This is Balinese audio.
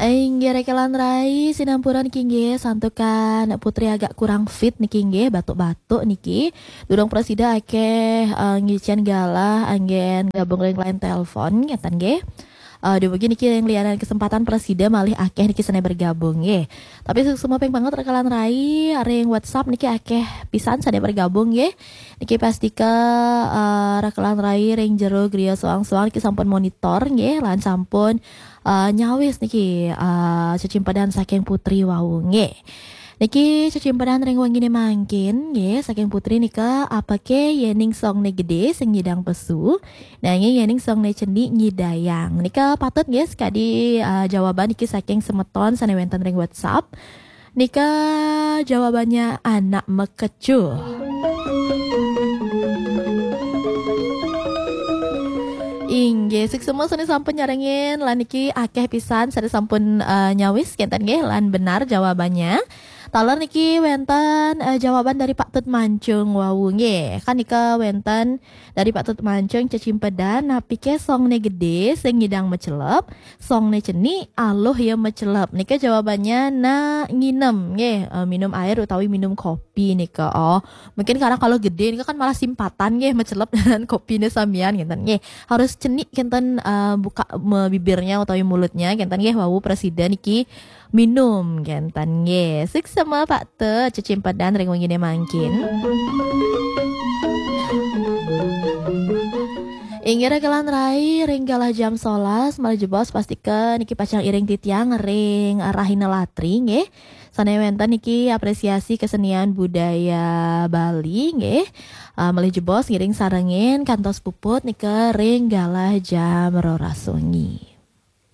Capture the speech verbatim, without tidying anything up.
Inggih rekan rai, sinampura niki nggih, santukan Putri agak kurang fit niki nggih, batuk-batuk niki. Durung prasida akeh, eh, ngicen galah anggen gabung ring line telepon, ngeten nggih. Eh, dumugi niki ring lianan kesempatan prasida malih akeh niki sane bergabung nggih. Tapi suksma ping banget rekan rai, ring WhatsApp niki akeh pisan sane bergabung nggih. Niki pastika, eh, rekan rai ring jero griya soang-soang niki sampun monitor nggih, lan sampun, eh, nyawis niki, eh, cecimpedan saking Putri wau nggih. Niki cecimpedan ring wengine mangkin nggih, saking Putri nika, "Apake yening songne gede sing nyidang pesu, nanging yening songne cenik nyidayang?" Nika patut nggih sekadi, eh, jawaban niki saking semeton sane wenten ring WhatsApp. Nika jawabannya anak mekecuh. Inggih, suksma sane sampun nyarengin, lan niki akeh pisan sane sampun, eh, nyawis kenten nggih, lan benar jawabannya. Taler niki wenten, eh, jawaban dari Pak Tut Mancung wau nggih. Kan nika wenten dari Pak Tut Mancung cecimpedan, "Napike songne gede sing nyidang mecelep, songne cenik aluh ya mecelep?" Nika jawabannya na nginem nggih, eh, minum air utawi minum kopi nika. Oh, mungkin karena kalau gede nika kan malah simpatan nggih mecelep dengan kopine samian kenten nggih. Harus cenik kenten, eh, buka me-, bibirnya utawi mulutnya kenten nggih wau prasida niki minum kenten nggih. Suksma Pak Tut, cecimpedan ring wengine mangkin. Inggih rekan rai, ring galah jam solas malih jebos pastika niki pacang iring titiang ring Rahina Latri nggih. Sane wenten niki apresiasi kesenian budaya Bali nggih. Ah, malih jebos ngiring sarengin kantos puput nika ring galah jam roras wengi.